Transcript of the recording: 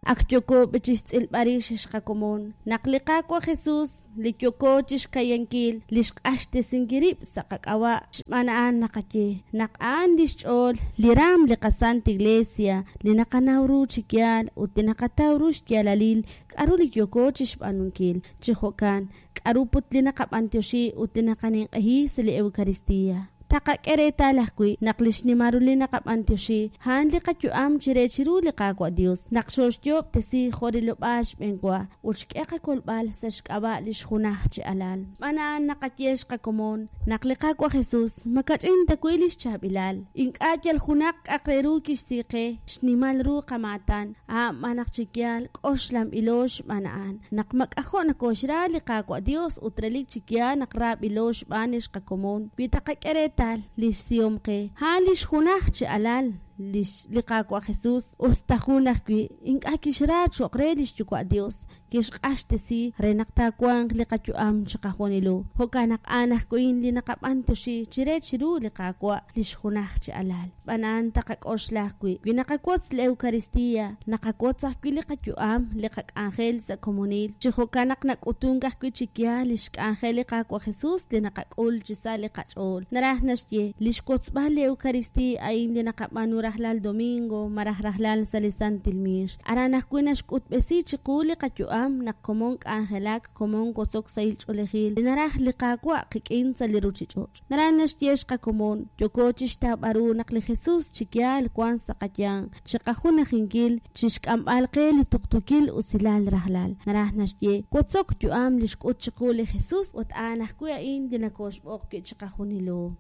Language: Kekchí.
Ak yooko bchixtz'ilb'al rix, ex qakomon, naq li Qaawa' Jesus, li yooko chixkayankil, li xq'axtesinkil rib' sa' qak'ab'a', xb'aan a'an naqaye naq a'an lix ch'ool li raam li qaSant Iglesia, li naqanaw ru chi yaal ut li naqataw ru xyaalalil k'a'ru li yooko chixb'aanunkil. Chi jo'kan, k'a'ru put li naqab'antioxi ut li naqaninq'ehi sa' li Eucaristia? Taqak'e reetal ajwi' naq li xnimal ru li naqab'antioxi, a'an li qayu'am chire chiru li Qaawa' Dios, naq xooxyo'ob'tesi jo' rilob'aal xb'een wa, ut xk'e qakolb'al sa' xk'ab'a' lix junaj chi Alal. Xb'aan a'an naqaye xqakomon naq li Qaawa' Jesus makach'in ta wi' lix chaab'ilal. Ink'a' yal junaq k'a'aq re ru kixsi qe, xnimal ru qamaatan, a'an b'an naq chi yaal k'oxlanb'ilo xb'aan a'an, naq mak'ajo' nokoxra li Qaawa' Dios ut relik chi yaal naq raab'ilo xb'aan lix qakomon, wi taqak'e reetal lix sihom qe, a'an lix junaj chi Alal, lix li Qaawa' Jesus, us ta jun ajwi', ink'a' kixra cho'q re lix Yuwa' Dios, kixq'axtesi re naq taawanq li qayu'am chiqajunilo. Jo'kan naq a'an ajwi' li naqab'antioxi chire chiru li Qaawa', lix junaj chi Alal. Xb'aan a'an taqak'oxla ajwi', wi naqawotz li Eucaristia, naqawotz ajwi' li qayu'am, li qak'anjel sa' komonil. Chi jo'kan naq nak'utunk ajwi' chi yaal lix k'anjel li Qaawa' Jesus li naqak'ul chi sa' li qach'ool. Naraj naxye, lix wotzb'al li Eucaristia a'in li naqab'aanu rajlal domingo malaj rajlal sa' li Santil Miix. Aran ajwi' naxk'utb'esi chiqu li qayu'am naq komon k'anjelak, komon wotzok sahil ch'oolejil li naraj li Qaawa' qik'in sa' li ruchich'och'. Naraj naxye xqakomon, yooko chixtawb'al ru naq li Jesus chi yaal wan sa' qayanq, chiqajunajinkil, chixk'amb'al qe li tuqtuukil usilal rajlal. Naraj naxye, wotzok yu'am li xk'ut chiqu li Jesus ut a'an ajwi' a'in li nokoxb'oq wi' chiqajunilo.